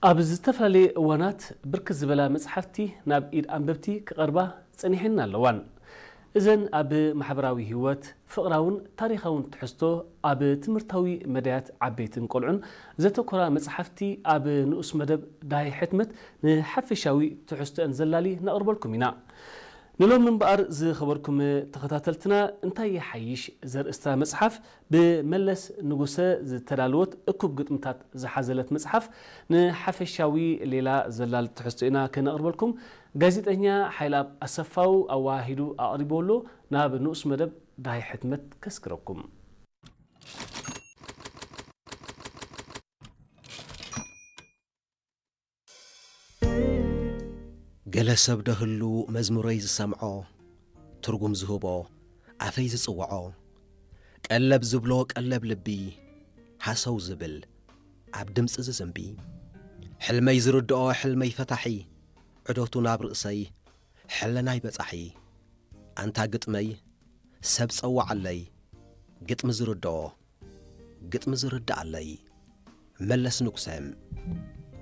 ኣብ ዝተፈላለየ እዋናት ብርክት ዝበላ መጽሓፍቲ ናብ ኢድ ኣንበብቲ ክቐርባ ጸኒሐን ኣለዋን። እዘን ኣብ ማሕበራዊ ህይወት፣ ፍቕራውን ታሪኻውን ትሕዝቶ፣ ኣብ ትምህርታዊ መዳያት ዓበይትን ቆልዑን ዘተኮራ መጽሓፍቲ ኣብ ንኡስ መደብ ዳሃይ ሕትመት ንሓፈሻዊ ትሕዝቶአን ዘላሊ ነቕርበልኩም ኢና። ንሎሚ እምበኣር ዝኸበርኩም ተኸታተልትና እንታይ ይሓይሽ ዘርእስታ መጽሓፍ ብመለስ ንጉሰ ዝተዳለወት እኩብ ግጥምታት ዝሓዘለት መጽሓፍ ንሓፈሻዊ ሌላ ዘላሊ ትሕዝቶ ኢና ከነቕርበልኩም። ጋዜጠኛ ሓይልኣብ ኣሰፋው ኣወሃሂዱ ኣቕሪብዎ ኣሎ። ናብ ንኡስ መደብ ዳሃይ ሕትመት ከስግረኩም። ገለ ሰብ ዶ ህሉ መዝሙረይ ዝሰምዖ፣ ትርጉም ዝህቦ፣ ኣፈይ ዝጽውዖ፣ ቀለብ ዝብሎ ቀለብ ልቢ፣ ሃሰው ዝብል ኣብ ድምጺ ዝዝንቢ፣ ሕልመይ ዝርድኦ ሕልመይ ፈታሒ፣ ዕዶቱ ናብ ርእሰይ ሕለናይ በጻሒ። ኣንታ ግጥመይ ሰብ ጸውዓለይ፣ ግጥሚ ዝርድኦ ግጥሚ ዝርድኣለይ። መለስ ንጉሰ።